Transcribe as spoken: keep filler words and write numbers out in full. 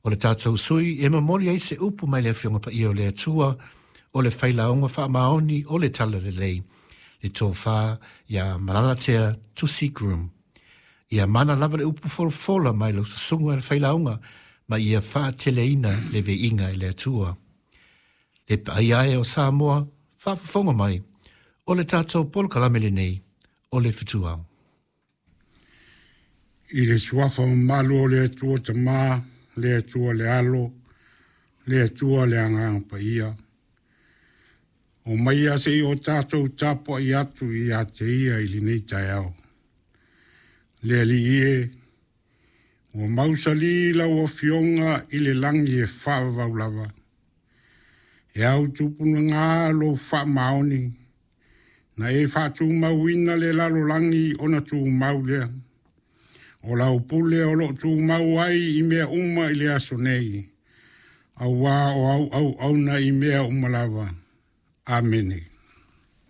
O le tatou sui e momoli ai se upu mai le Afioga Paia o le Atua, o le Failauga Faamaoni o le Talalelei, le tofa ia Malalatea Tusi Groom. Ia mana lava le upu folafola mai lau susuga le Failauga, ma ia faateleina le viiga i le Atua. Le paia e o Samoa, faafofoga mai, o le tatou polokalame lenei, o le Fetuao. I le suafa mamalu o le Atua Tama, le Atua le Alo, le Atua le Agaga Paia. O mai a se i o tātou tapuai atu ia te ia i lenei taeao. Le Alii e, ua mausali lau afioga i le lagi e faavavau lava. E au tupunaga lou faamaoni, na e faatumauina le lalolagi ona tumau lea. O lau pule o loo tumau ai i mea uma i le aso nei, auā o au auauna i mea uma lava. Amene.